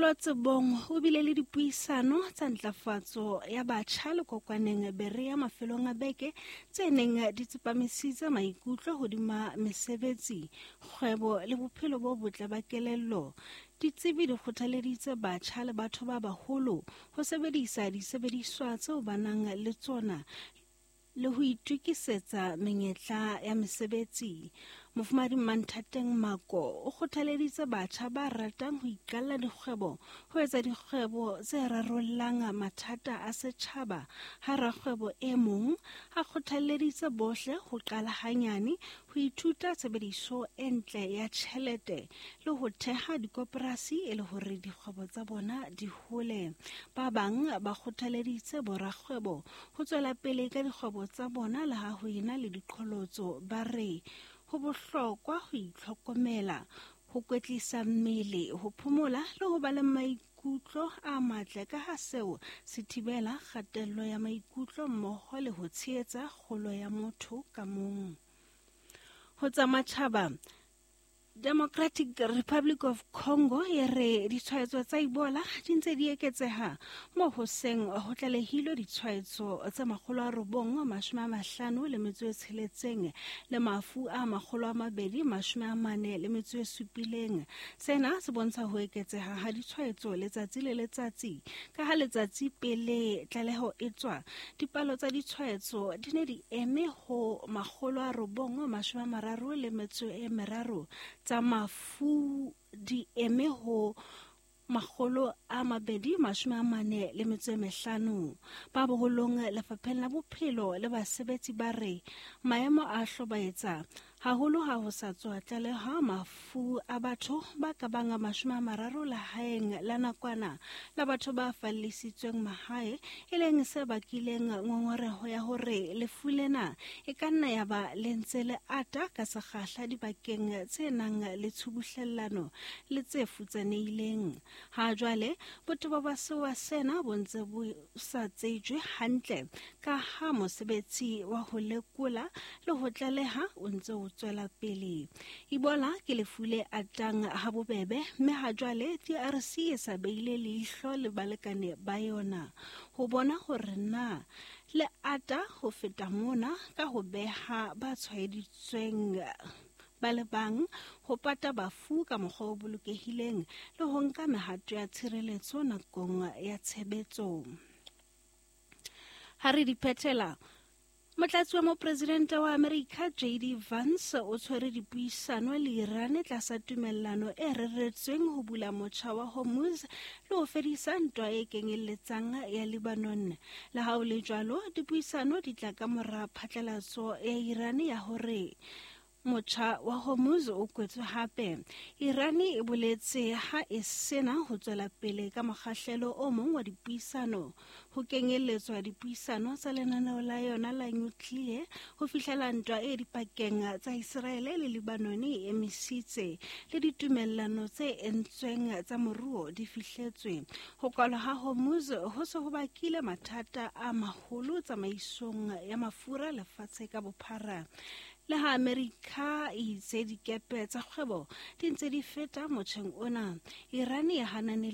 Letsholo Tsebong o bile le dipuisano tsa ntlafatso ya batjha le kokwaneng Berea mafelong a beke tse neng di tsepamisitse maikutlo hodima mesebetsi, kgwebo le bophelo bo botle ba kelello. Ditsebi di kgothaleditse batjha le batho ba baholo ho sebedisa disebediswa tseo ba nang le tsona le ho itokisetsa menyetla ya mesebetsi. Mofumahadi Mmanthateng Mako o kgothaleditse batjha ba ratang ho iqalla dikgwebo ho etsa dikgwebo tse rarollang mathata a setjhaba, ha rakgwebo e mong a kgothalleditse bohle ho qala hanyane ho ithuta tshebediso e ntle ya tjhelete le ho theha dikoporasi e le hore dikgwebo tsa bona di hole. Ba bang ba kgothaleditse borakgwebo ho tswela pele ka dikgwebo tsa bona le ha ho ena le diqholotso, ba re ho bohlokwa ho itlhokomela, ho kwetlisa mmele, ho phomola le ho ba le maikutlo a matle ka ha seo se thibela kgatello ya maikutlo mmoho le ho tshehetsa kgolo ya motho ka mong. Ho tsa matjhaba, Democratic Republic of Congo e re ditshwaetso tsa Ebola di ntse di eketseha moo ho seng ho tlalehilwe ditshwaetso tse 956 le mafu a 247. Sena se bontsha ho eketseha ha ditshwaetso letsatsi le letsatsi, ka ha letsatsi pele tlaleho e tswa, dipalo tsa ditshwaetso di ne di eme ho 933, tsa mafu di eme ho 245. Ba boholong lefapheng la bophelo le basebetsi ba re maemo a hlobaetsa haholo ha ho sa tswa tlaleha mafu a batho ba ka bang 30 lehaeng la nakwana la batho ba fallisitsweng mahae, e leng se bakileng ngongoreho ya hore lefu lena e ka nna ya ba le ntse le ata ka sekgahla dibakeng tse nang le tshubuhlellano le tse futsanehileng. Ha jwale botebo ba sewa sena bo ntse bo sa tsejwe hantle ka ha mosebetsi wa ho lekola le ho tlaleha o ntse o tswela pele. Ebola ke lefu le atang ha bobebe mme ha jwale DRC e sa beile leihlo le balekane ba yona ho bona hore na le ata ho feta mona ka ho beha ba tshwaeditsweng ba le bang, ho pata bafu ka mokgwa o bolokehileng le ho nka mehato ya tshireletso nakong ya tshebetso. Ha re di phethela, Motlatsi wa mopresidente wa Amerika JD Vance o tshwere dipuisano le Iran tlasa tumellano e reretsweng ho bula motjha wa Hormuz le ho fedisa ntwa e kenyelletsang ya Lebanon. Le ha ho le jwalo, dipuisano di tla ka mora phatlalatso ya Iran ya hore motjha wa Hormuz o kwetswe hape. Iran e boletse ha e sena ho tswela pele ka mokgahlelo o mong wa dipuisano, ho kenyelletswa dipuisano tsa lenaneo la yona la nuclear ho fihlela ntwa e dipakeng tsa Iseraele le Lebanon e emisitse le ditumellano tse entsweng tsa moruo di fihletswe. Ho kwalwa ha Hormuz ho se ho bakile mathata a maholo tsamaisong ya mafura lefatshe ka bophara. Le ha Amerika e itse dikepe tsa kgwebo di ntse di feta motjheng ona, Iran e hanane.